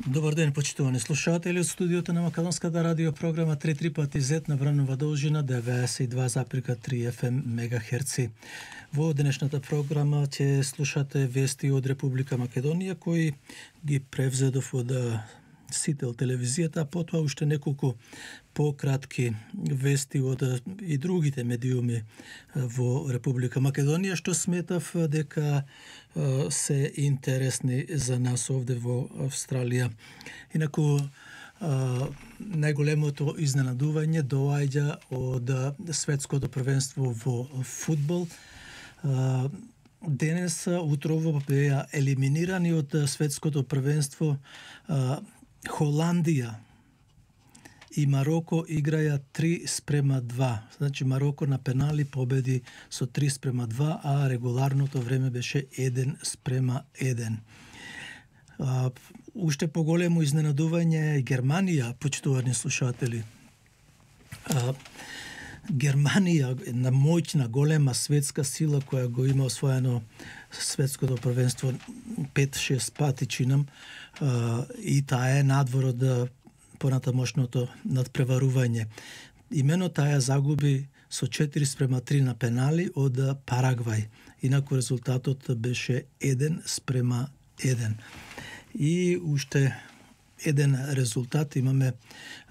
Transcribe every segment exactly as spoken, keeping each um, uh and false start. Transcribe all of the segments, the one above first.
Добар ден, почитувани слушатели од студиото на Македонската радио програма три три пати зет на вранова должина деветдесет и два запирка три еф ем мегахерци. Во денешната програма ќе слушате вести од Република Македонија кои ги превзедов од Сител телевизијата, а потоа уште неколку пократки вести од и другите медиуми во Република Македонија, што сметав дека се интересни за нас овде во Австралија. Инаку, најголемото изненадување доаѓа од светското првенство во фудбал. Денес, утрово, беа елиминирани од светското првенство Холандија и Мароко играја три спрема два. Значи Мароко на пенали победи со три спрема два, а регуларното време беше еден спрема еден. А, уште поголемо изненадување е Германија, почитувани слушатели. А, Германија, една моќна, голема светска сила која го има освоено светското првенство пет-шест пати, чинам, и таа е надвор од понатамошното надпреварување. Имено таа загуби со четири спрема три на пенали од Парагвај. Инаку резултатот беше еден спрема еден. И уште еден резултат имаме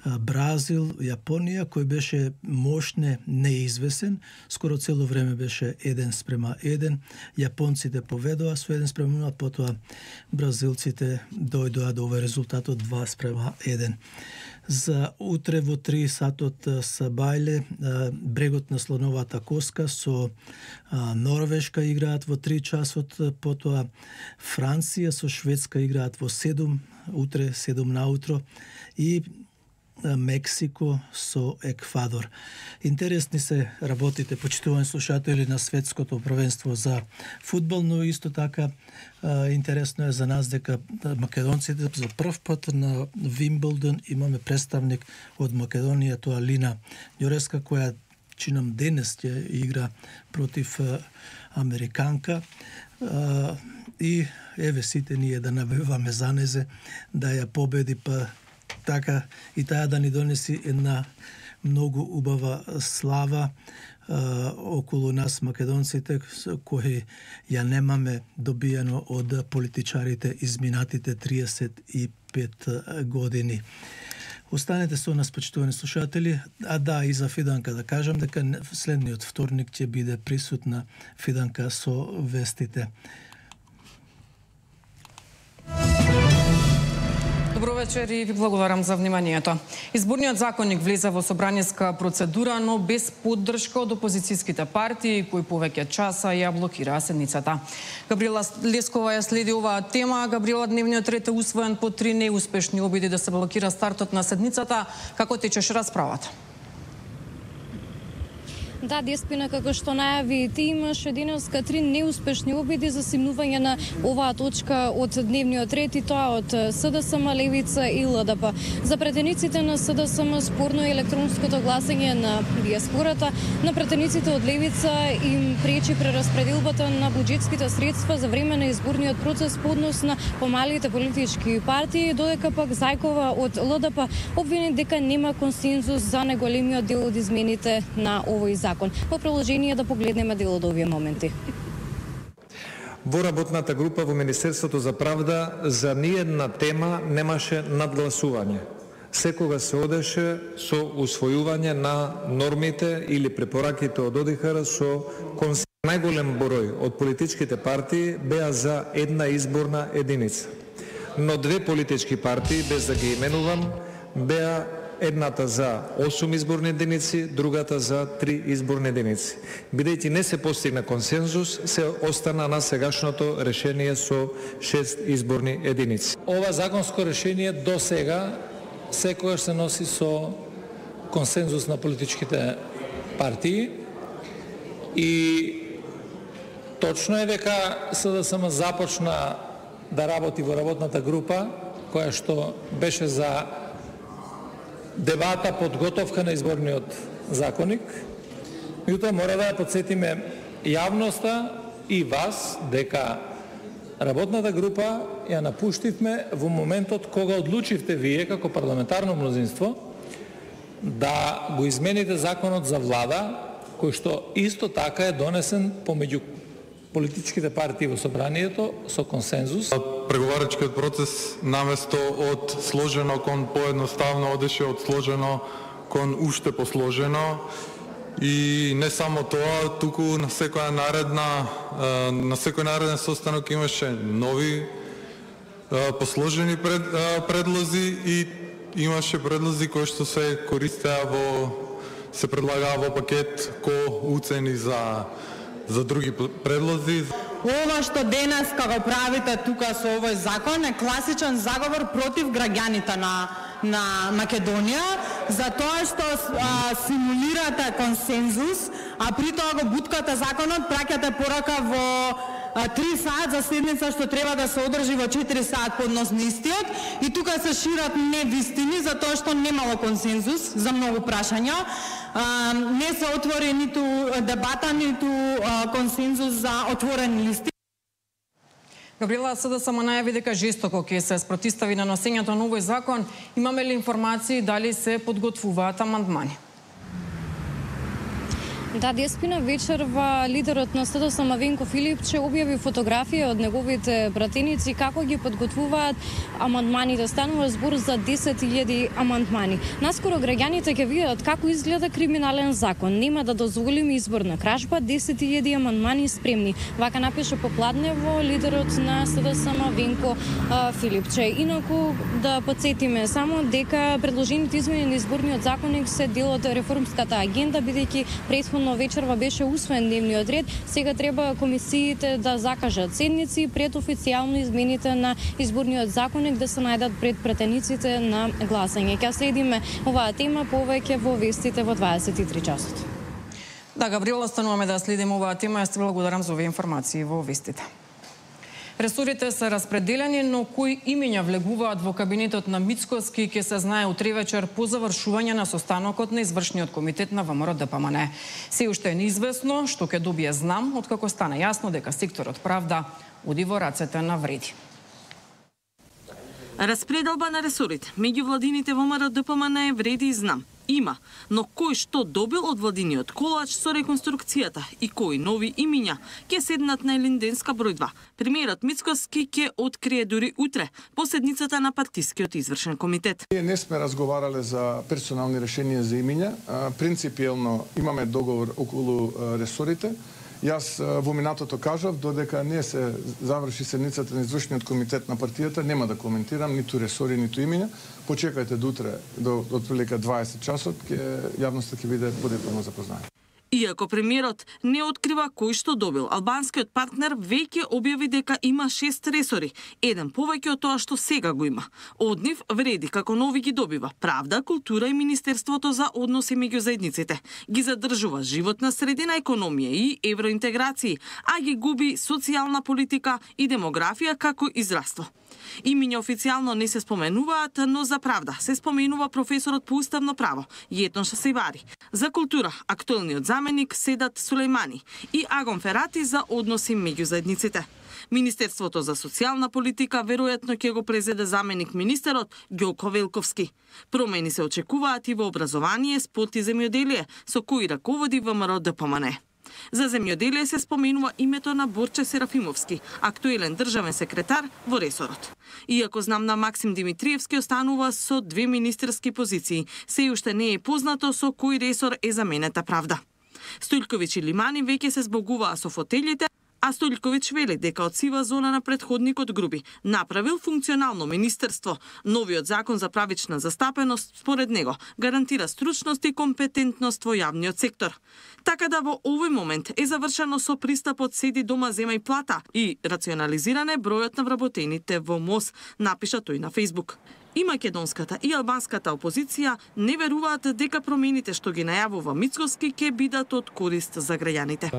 Бразил, Јапонија, кој беше мощне неизвесен, скоро цело време беше еден спрема еден. Јапонците поведоа со еден спрема нула, потоа бразилците дојдоа до овој резултат од два спрема еден. За утре во три сатот са бајле, брегот на слоновата коска со Норвешка играат во три часот, потоа Франција со Шведска играат во седум, утре седум наутро, и Мексико со Еквадор. Интересни се работите, почитувани слушатели, на светското првенство за фудбал, но исто така интересно е за нас дека македонците за прв пат на Вимблдон имаме представник од Македонија, тоа Лина Ѓореска, која чинам денес ќе игра против американка. И еве сите ние да навиваме за незе да ја победи, па така и таа да ни донеси една многу убава слава а, околу нас македонците, кои ја немаме добиено од политичарите изминатите триесет и пет години. Останете со нас, почитувани слушатели. А да, и за Фиданка да кажам дека следниот вторник ќе биде присутна Фиданка со вестите. Добро вечер и ви благодарам за вниманието. Изборниот законник влезе во собраниска процедура, но без поддршка од опозицијските партии кои повеќе часа ја блокираа седницата. Габриела Лескова ја следи оваа тема. Габриела, дневниот ред е усвоен по три неуспешни обиди да се блокира стартот на седницата. Како течеше расправата? Да, Деспина, како што најави ти, имаше денеска три неуспешни обиди за симнување на оваа точка од дневниот ред, и тоа од СДСМ, Левица и ЛДП. За претениците на СДСМ спорно е електронското гласање на диаспората, на претениците од Левица им пречи прераспределбата на буџетските средства за време на изборниот процес по однос на помалите политички партии, додека пак Зајкова од ЛДП обвини дека нема консензус за најголемиот дел од измените на овој закон. Во приложение да погледнеме дел од овие моменти. Во работната група во Министерството за правда за ниедна тема немаше надгласување. Секога се одеше со усвојување на нормите или препораките од ОДИХР со консензус. Најголем број од политичките партии беа за една изборна единица. Но две политички партии, без да ги именувам, беа едната за осум изборни единици, другата за три изборни единици. Бидејќи не се постигна консензус, се остана на сегашното решение со шест изборни единици. Ова законско решение до сега секогаш се носи со консензус на политичките партии и точно е дека СДСМ започна да работи во работната група, која што беше за дебата, подготовка на изборниот законник. Меѓутоа мора да ја подсетиме јавноста и вас дека работната група ја напуштивме во моментот кога одлучивте вие како парламентарно мнозинство да го измените законот за влада, кој што исто така е донесен помеѓу политичките партии во собранието со консензус. Преговарачкиот процес наместо од сложено кон поедноставно одеше од сложено кон уште посложено. И не само тоа, туку на секоја наредна на секој нареден состанок имаше нови посложени пред, предлози и имаше предлози кои што се користеа во се предлагаа во пакет ко уцени за за други предлози. Ова што денеска го правите тука со овој закон е класичен заговор против граѓаните на на Македонија, за тоа што а, симулирате консензус, а при тоа го буткате законот, праќате порака во три саат за седница што треба да се одржи во четири саат поднос на истиот, и тука се шират невистини за тоа што немало консензус за многу прашања. А, не се отвори ниту дебата, ниту а, консензус за отворени листи. Габриела, СДСМ најави дека жестоко ќе се спротивстави на носењето на овој закон. Имаме ли информации дали се подготвуваат амандмани? Да, деспина вечерва лидерот на СДСМ Венко Филипче објави фотографија од неговите пратеници како ги подготвуваат амандманите. Станува збор за десет илјади амандмани. Наскоро граѓаните ќе видат како изгледа криминален закон. Нема да дозволиме изборна кражба, десет илјади амандмани спремни. Вака напише попладнево лидерот на СДСМ Венко а, Филипче. Инаку да подсетиме само дека предложените измени на изборниот законник се дел од реформската агенда, бидејќи претходно вечерва беше усвоен дневниот ред. Сега треба комисиите да закажат седници пред официјално измените на изборниот законник да се најдат пред пратениците на гласање. Ќе следиме оваа тема повеќе во вестите во дваесет и три часот. Да, Габриела, остануваме да следиме оваа тема. Јас ти благодарам за овие информации во вестите. Ресорите се распределени, но кои имиња влегуваат во кабинетот на Мицкоски ќе се знае утре вечер по завршување на состанокот на извршниот комитет на ВМРО Д П М Н. Се уште е неизвестно што ќе добие знам, откако стана јасно дека секторот правда оди во рацете на Вреди. Распределба на ресорите меѓу владините во ВМРО Д П М Н е Вреди и знам. Има, но кој што добил од владиниот колач со реконструкцијата и кои нови имиња ќе седнат на Елинденска број два. Премиерот Мицкоски ќе открие дури утре по седницата на партискиот извршен комитет. Ние не сме разговарале за персонални решенија за имиња. Принципиелно имаме договор околу ресорите. Јас во минатото кажав, додека не се заврши седницата на извршниот комитет на партијата, нема да коментирам ниту ресори, ниту имиња. Почекајте до утре, до отприлика дваесет часот, ќе јавноста ќе биде подетално запознаена. Иако премиерот не открива кој што добил, албанскиот партнер веќе објави дека има шест ресори, еден повеќе од тоа што сега го има. Од нив Вреди како нови ги добива Правда, култура и Министерството за односи меѓу заедниците. Ги задржува животна средина, економија и евроинтеграции, а ги губи социјална политика и демографија како израство. Имиња официјално не се споменуваат, но за Правда се споменува професорот по уставно право Јетон Шасевари. За култура актуелниот заменик Седат Сулејмани и Агон Ферати за односи меѓу заедниците. Министерството за социјална политика веројатно ќе го презеде заменик министерот Ѓоко Велковски. Промени се очекуваат и во образование, спорт и земјоделие, со кои раководи ВМРО Д П М Н. За земјоделие се споменува името на Борче Серафимовски, актуелен државен секретар во ресорот. Иако знам на Максим Димитриевски останува со две министерски позиции, се уште не е познато со кој ресор е заменета Правда. Стојлковиќ и Лимани веќе се збогуваа со фотелите, а Стојлковиќ вели дека од сива зона на претходникот Груби направил функционално министерство. Новиот закон за правична застапеност, според него, гарантира стручност и компетентност во јавниот сектор. Така да во овој момент е завршено со пристапот седи дома зема и плата и рационализиране бројот на вработените во МОС, напиша тој на Фејсбук. И македонската и албанската опозиција не веруваат дека промените што ги најавува Мицкоски ќе бидат од корист за граѓаните.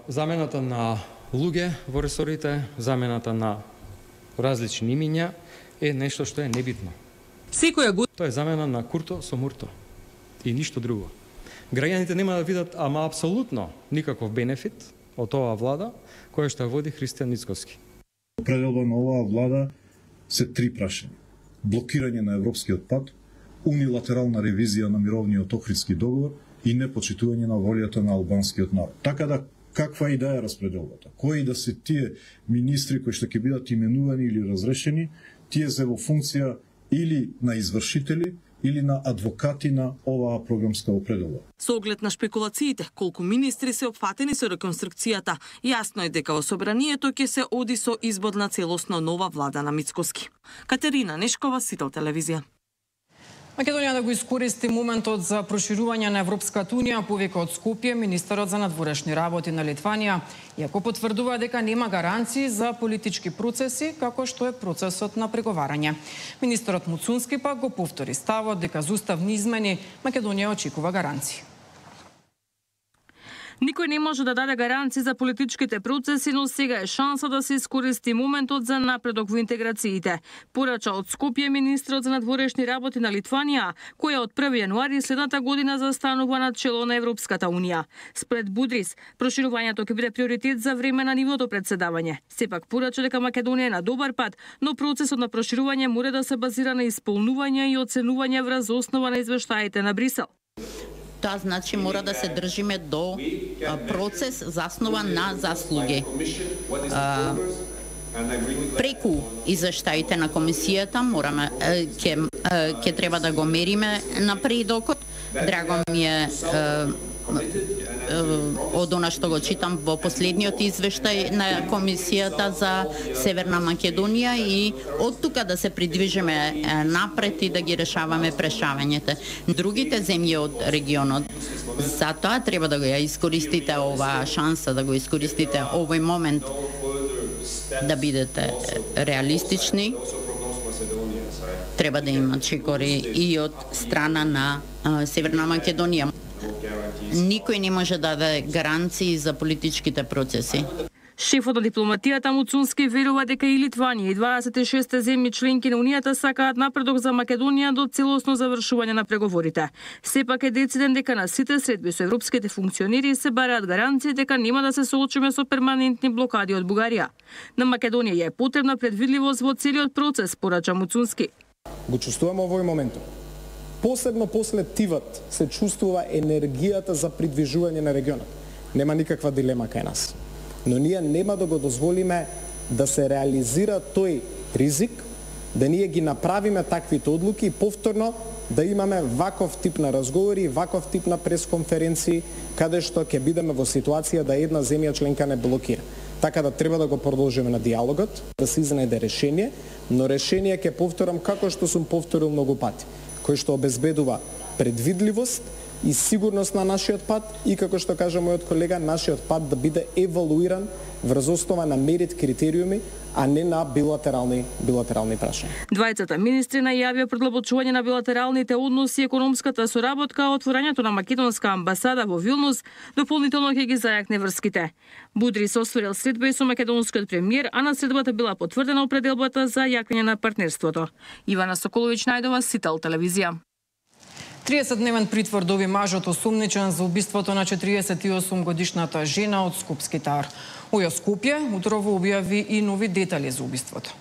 Замената на луѓе во ресорите, замената на различни имиња е нешто што е небитно. Секоја година тоа е замена на курто со мурто и ништо друго. Граѓаните нема да видат ама апсолутно никаков бенефит од оваа влада која што води Христијан Мицкоски. Пределба на оваа влада се три прашања. Блокирање на европскиот пат, унилатерална ревизија на мировниот Охридски договор и непочитување на волјата на албанскиот народ. Така да, каква идеја е распределбата? Кои да се тие министри кои што ќе бидат именувани или разрешени, тие се во функција или на извршители, или на адвокати на оваа програмска определба. Со оглед на шпекулациите, колку министри се опфатени со реконструкцијата, јасно е дека во собранието ќе се оди со избор на целосно нова влада на Мицкоски. Катерина Нешкова, Сител телевизија. Македонија да го искористи моментот за проширување на Европската унија, повика од Скопје министерот за надворешни работи на Литванија, иако потврдува дека нема гаранции за политички процеси, како што е процесот на преговарање. Министерот Муцунски пак го повтори ставот дека за уставни измени Македонија очекува гаранции. Никој не може да даде гаранции за политичките процеси, но сега е шанса да се искористи моментот за напредок во интеграциите. Порача од Скопје министрот за надворешни работи на Литванија, која од први јануари следната година застанува на чело на Европската унија. Спред Будрис, проширувањето ќе биде приоритет за време на нивното председавање. Сепак порача дека Македонија е на добар пат, но процесот на проширување мора да се базира на исполнување и оценување врз основа на извештаите на Брисел. Тоа значи мора да се држиме до процес заснован на заслуги. А, преку извештаите на комисијата мораме ќе ќе треба да го мериме напредокот. Драго ми е од она што го читам во последниот извештај на комисијата за Северна Македонија и од тука да се придвижиме напред и да ги решаваме прешавањето. Другите земји од регионот, затоа треба да го ја искористите оваа шанса, да го искористите овој момент да бидете реалистични. Треба да има чекори и од страна на Северна Македонија. Никој не може да даде гаранции за политичките процеси. Шефот на дипломатијата Муцунски верува дека и Литванија и дваесет и шест земји членки на Унијата сакаат напредок за Македонија до целосно завршување на преговорите. Сепак е дециден дека на сите средби со европските функционери се бараат гаранции дека нема да се соочиме со перманентни блокади од Бугарија. На Македонија ја е потребна предвидливост во целиот процес, порача Муцунски. Го чувствуваме овој момент. Посебно после тивот се чувствува енергијата за придвижување на регионот. Нема никаква дилема кај нас. Но ние нема да го дозволиме да се реализира тој ризик, да ние ги направиме таквите одлуки и повторно да имаме ваков тип на разговори, ваков тип на пресконференции, каде што ќе бидеме во ситуација да една земја членка не блокира. Така да треба да го продолжиме на диалогот, да се изнајде решение, но решение ќе повторам како што сум повторил многу пати, кој што обезбедува предвидливост и сигурност на нашиот пат и, како што кажа мојот колега, нашиот пат да биде евалуиран врз основа на мерит критериуми, а не на билатерални билатерални прашања. Двајцата министри најавија продлабочување на билатералните односи и економската соработка, а отворањето на македонска амбасада во Вилнус дополнително ќе ги зајакне врските. Будрис освоил средба и со македонскиот премиер, а на средбата била потврдена определбата за јакнење на партнерството. Ивана Соколовиќ најдова, Сител телевизија. триесетдневен притвор доби мажот осумничен за убиството на четириесет и осум годишната жена од Скопски Тар. Ојо Скопје утрово објави и нови детали за убиството.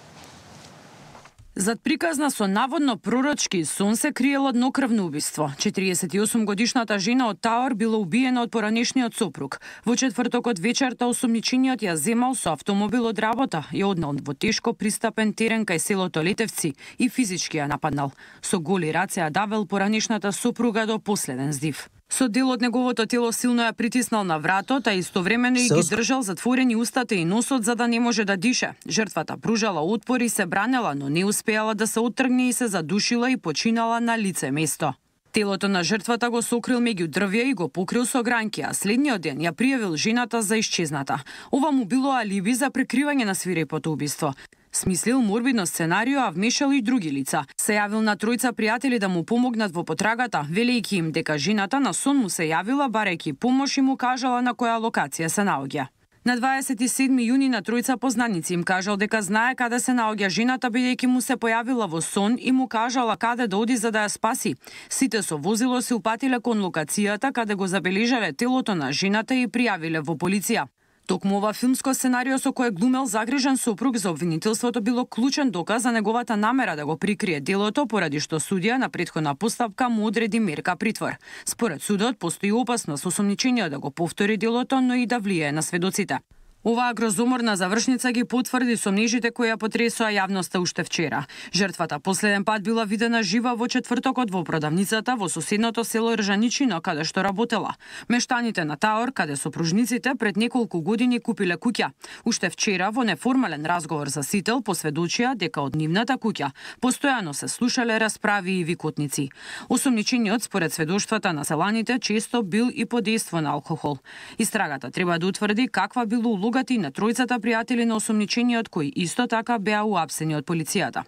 Зад приказна со наводно пророчки сон се криело еднокрвно убиство. четириесет и осум годишната жена од Тауер била убиена од поранешниот сопруг. Во четвртокот вечерта осумничениот ја земал со автомобил од работа, ја однел во тешко пристапен терен кај селото Летевци и физички ја нападнал. Со голи раце ја давел поранешната сопруга до последен здив. Со дел од неговото тело силно ја притиснал на вратот, а истовремено и ги држал затворени устата и носот за да не може да дише. Жртвата пружала отпор и се бранела, но не успеала да се оттргне и се задушила и починала на лице место. Телото на жртвата го сокрил меѓу дрвја и го покрил со гранки, а следниот ден ја пријавил жената за исчезната. Ова му било алиби за прикривање на свирепото убиство. Смислил морбидно сценарио, а вмешал и други лица. Се јавил на тројца пријатели да му помогнат во потрагата, велејќи им дека жената на сон му се јавила барајќи помош и му кажала на која локација се наоѓа. На дваесет и седми јуни на тројца познаници им кажал дека знае каде се наоѓа жената бидејќи му се појавила во сон и му кажала каде да оди за да ја спаси. Сите со возило се упатиле кон локацијата каде го забележале телото на жената и пријавиле во полиција. Токму ова филмско сценарио со кое глумел загрижен сопруг за обвинителството било клучен доказ за неговата намера да го прикрие делото, поради што судија на претходна постапка му одреди мерка притвор. Според судот постои опасност осомничениот да го повтори делото, но и да влијае на сведоците. Оваа грозоморна завршница ги потврди сомнежите кои ја потресоа јавноста уште вчера. Жртвата последен пат била видена жива во четвртокот во продавницата во соседното село Ржаничино, каде што работела. Мештаните на Таор, каде сопружниците пред неколку години купиле куќа. Уште вчера во неформален разговор за Сител посведочија дека од нивната куќа постојано се слушале расправи и викотници. Осомничениот според сведоштвата на селаните често бил и под дејство на алкохол. Истрагата треба да утврди каква била улогата и на тројцата пријатели на осомничениот кои исто така беа уапсени од полицијата.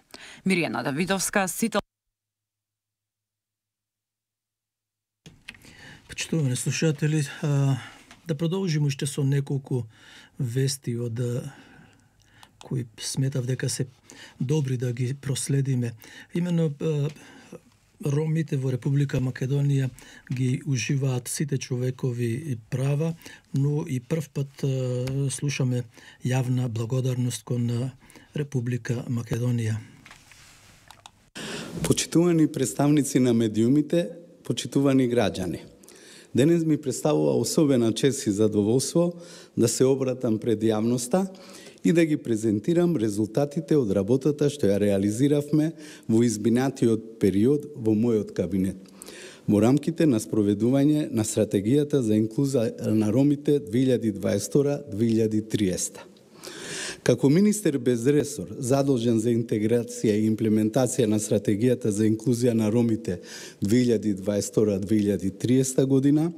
Миријана Давидовска, Сител. Почитувани слушатели, да продолжиме уште со неколку вести од кои сметав дека се добри да ги проследиме. Имено ромите во Република Македонија ги уживаат сите човекови права, но и прв пат слушаме јавна благодарност кон Република Македонија. Почитувани представници на медиумите, почитувани граѓани. Денес ми представува особена чест и задоволство да се обратам пред јавноста и да ги презентирам резултатите од работата што ја реализиравме во изминатиот период во мојот кабинет, во рамките на спроведување на стратегијата за инклузија на ромите две илјади дваесет втора до две илјади триесета. Како министер без ресор, задолжен за интеграција и имплементација на стратегијата за инклузија на ромите две илјади дваесет втора до две илјади триесета година,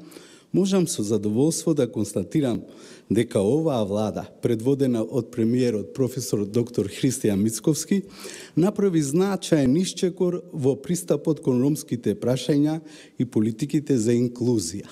можам со задоволство да констатирам дека оваа влада, предводена од премиерот професор доктор Христијан Мицковски, направи значаен исчекор во пристапот кон ромските прашања и политиките за инклузија.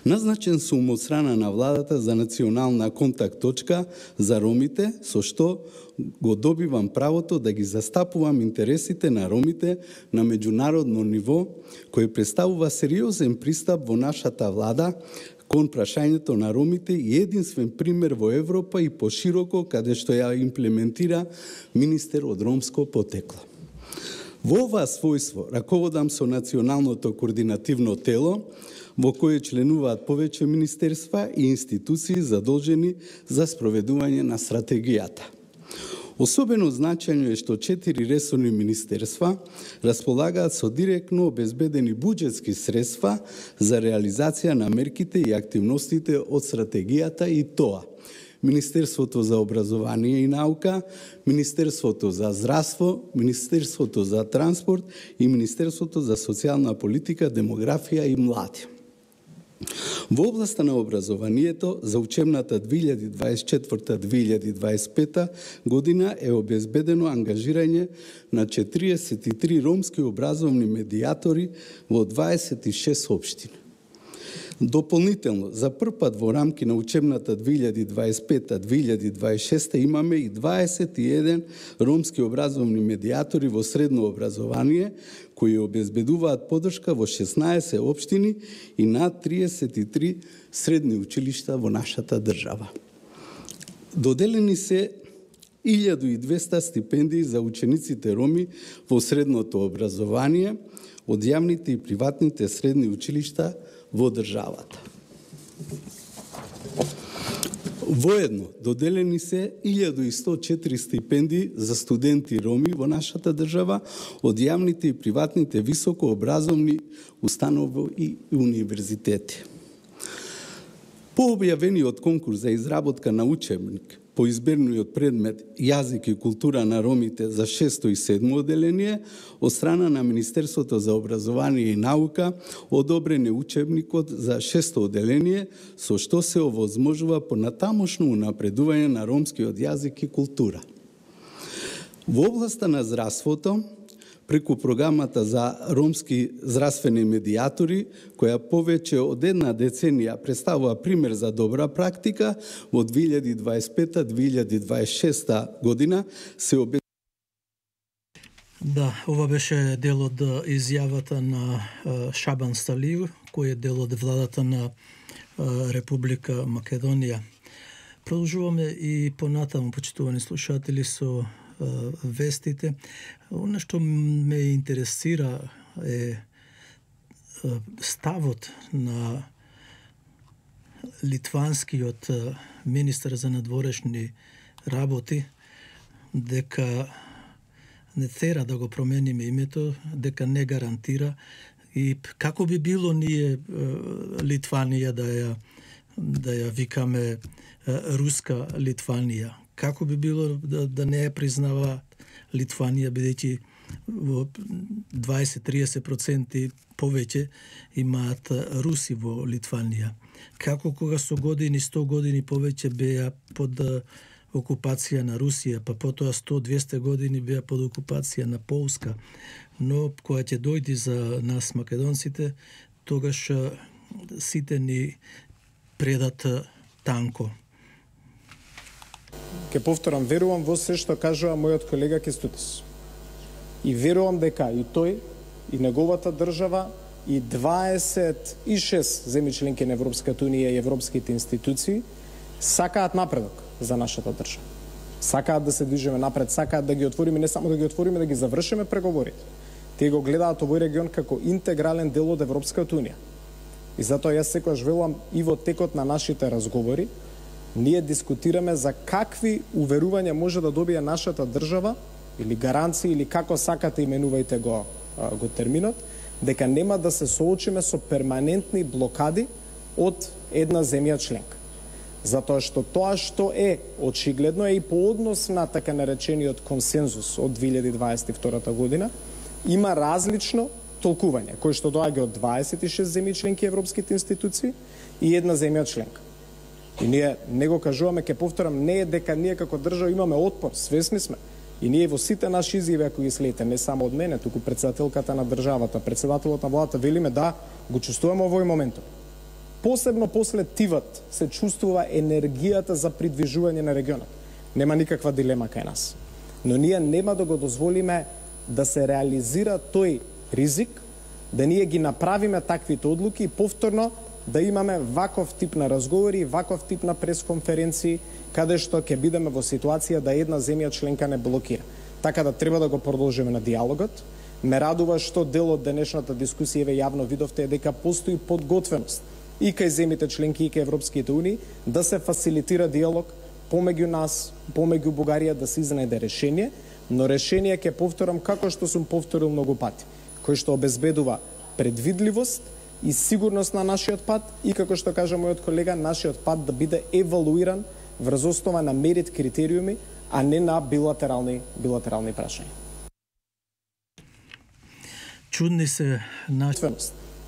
Назначен сум од страна на владата за национална контакт точка за ромите, со што го добивам правото да ги застапувам интересите на ромите на меѓународно ниво, кој представува сериозен пристап во нашата влада кон прашањето на ромите и единствен пример во Европа и пошироко каде што ја имплементира министер од ромско потекло. Во ова својство раководам со националното координативно тело, во кое членуваат повеќе министерства и институции задолжени за спроведување на стратегијата. Особено значајно е што четири ресорни министерства располагаат со директно обезбедени буџетски средства за реализација на мерките и активностите од стратегијата, и тоа Министерството за образование и наука, Министерството за здравство, Министерството за транспорт и Министерството за социјална политика, демографија и млади. Во областа на образованието за учебната две илјади дваесет и четврта до две илјади дваесет и пета година е обезбедено ангажирање на четириесет и три ромски образовни медијатори во дваесет и шест општини. Дополнително, за прв пат во рамки на учебната две илјади дваесет и пета до две илјади дваесет и шеста имаме и дваесет и еден ромски образовни медијатори во средно образование, кои обезбедуваат подршка во шеснаесет општини и над триесет и три средни училишта во нашата држава. Доделени се илјада и двесте стипендии за учениците роми во средното образование од јавните и приватните средни училишта во државата. Воедно доделени се илјада и сто и четири стипендии за студенти роми во нашата држава од јавните и приватните високообразовни установи и универзитети. По објавениот конкурс за изработка на учебник по изберниот предмет Јазик и култура на ромите за шесто и седмо оделение, од страна на Министерството за образование и наука одобрен е учебникот за шесто оделение, со што се овозможува понатамошно унапредување на ромскиот јазик и култура. Во областа на здравството, преку програмата за ромски здравствени медијатори, која повеќе од една деценија представува пример за добра практика, во две илјади дваесет и пета до две илјади дваесет и шеста година се обезбедува. Да, ова беше дел од изјавата на Шабан Сталију, кој е дел од владата на Република Македонија. Продолжуваме и понатаму, почитувани слушатели, со вестите. Оно што ме интересира е ставот на литванскиот министар за надворешни работи, дека не тера да го промениме името, дека не гарантира, и како би било ние Литванија да ја да ја викаме руска Литванија? Како би било да, да не ја признава Литванија, бидејќи во дваесет до триесет проценти повеќе имаат руси во Литванија? Како кога со години, сто години повеќе беа под окупација на Русија, па потоа сто до двесте години беа под окупација на Полска, но кога ќе дојди за нас македонците, тогаш сите ни предат танко. Ке повторам, верувам во се што кажува мојот колега Кестутис. И верувам дека и тој, и неговата држава, и дваесет и шест земји членки на Европската унија и европските институции сакаат напредок за нашата држава. Сакаат да се движиме напред, сакаат да ги отвориме, не само да ги отвориме, да ги завршиме преговорите. Тие го гледаат овој регион како интегрален дел од Европската унија. И затоа јас секогаш велам и во текот на нашите разговори, ние дискутираме за какви уверувања може да добие нашата држава, или гаранции, или како сакате именувајте го, го терминот, дека нема да се соочиме со перманентни блокади од една земја членка. Затоа што тоа што е очигледно е и по однос на така наречениот консензус од две илјади дваесет и втора година, има различно толкување, кој што доаѓа од дваесет и шест земји членки европските институции и една земја членка. И ние не го кажуваме, ке повторам, не е дека ние како држава имаме отпор, свесни сме. И ние во сите наши изјави, ако ги следите, не само од мене, туку председателката на државата, председателот на владата, велиме да, го чувствуваме овој моментум. Посебно после тивот се чувствува енергијата за придвижување на регионот. Нема никаква дилема кај нас. Но ние нема да го дозволиме да се реализира тој ризик, да ние ги направиме таквите одлуки и повторно да имаме ваков тип на разговори, ваков тип на пресконференции, каде што ќе бидеме во ситуација да една земја членка не блокира. Така да треба да го продолжиме на диалогот. Ме радува што дел од денешната дискусија ве јавно видовте дека постои подготвеност и кај земјите членки и кај Европските унии да се фасилитира диалог помеѓу нас, помеѓу Бугарија, да се изнајде решение, но решение ќе повторам како што сум повторил многу пати, кој што обезбедува предвидливост и сигурност на нашиот пат и, како што кажа мојот колега, нашиот пат да биде евалуиран врз основа на мерит критериуми, а не на билатерални билатерални прашања. Чудни се наши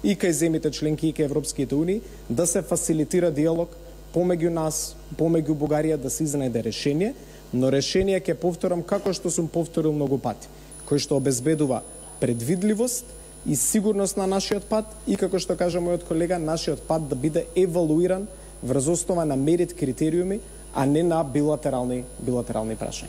и кај земјите членки и кај Европските унии да се фасилитира диалог помеѓу нас, помеѓу Бугарија, да се изнајде решение, но решение ќе повторам како што сум повторил многу пати, кој што обезбедува предвидливост и сигурност на нашиот пат и, како што кажа мојот колега, нашиот пат да биде евалуиран врз основа на мерит критериуми, а не на билатерални билатерални прашања.